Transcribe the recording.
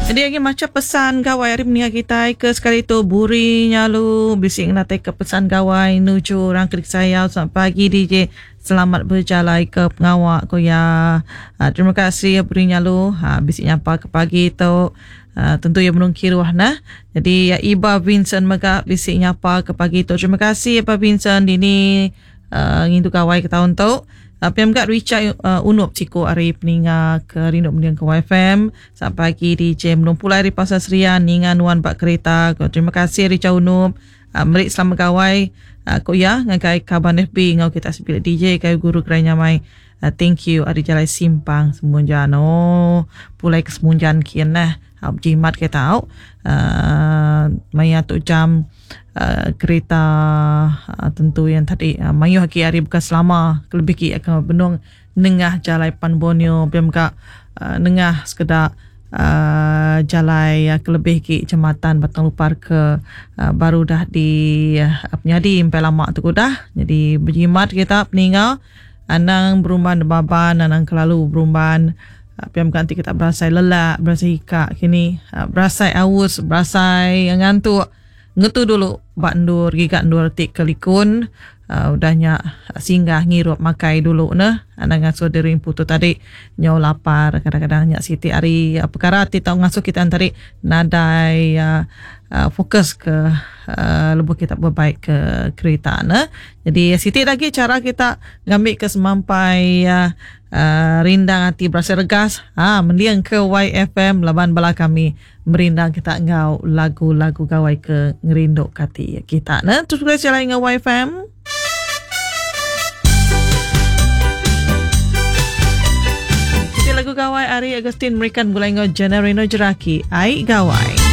Jadi agi macha pesan gawai ari menua kitai ke sekali tu buri nyalu bisi ngenatai ke pesan gawai nuju orang ke dikesayau selamat pagi DJ selamat bejalai ke pengawa ku iya. Ha, terima kasih buri nyalu ha, bisi nyapa ke pagi tu. Ha, tentu iya benung kiruh nah. Jadi Iba Vincent mega bisi nyapa ke pagi tu. Terima kasih Iba Vincent dini uh, ngintu gawai ke taun tu. Uh, pia mega Richard uh, Unup siku ari peninga ke rindu mending ke YFM. Selamat pagi DJ Menung Pulai ari Pasar Serian ninga nuan ba kereta. Terima kasih Richard Unup. Uh, meri selamat gawai uh, ku iya ngagai kaban FB enggau kita sebilik DJ kayu guru gerai nyamai. Uh, thank you ari jalai simpang Semunjan. Oh, pulai ke Semunjan kian nah. Uh, berjimat kita tau. Uh, maya tu jam uh, kereta uh, tentu yang tadi uh, mayuh agi ari bukan selama kelebih agi akan benung nengah jalai Pan Borneo pia mega uh, nengah sekeda uh, jalai uh, kelebih agi jematan Batang Lupar ke uh, baru dah di uh, penyadi empai lama tu udah. Jadi berjimat kita peninga anang berumban debaban anang kelalu berumban uh, pia mega enti kita berasai lelak berasai hikak kini uh, berasai aus berasai ngantuk Ngetu dulu ba endur giga endur ti ke likun udah nya singgah ngirup makai dulu neh anang ngasuh diri empu tu tadi nyau lapar kadang-kadang nya siti ari pekara ti tau ngasuh kita tadi nadai fokus ke lebuh kita bebaik ke kerita neh. Jadi siti da agi chara kita ngambi ke semampai rindang ati berasai regas ha mending ke YFM laban bala kami Merindang kita enggau lagu-lagu gawai ke ngerindu ke ati kita ne. Terus begulai sejalai enggau YFM. Siti lagu gawai ari Augustine Merikan begulai enggau Jenna Reno Jeraki, Ai Gawai.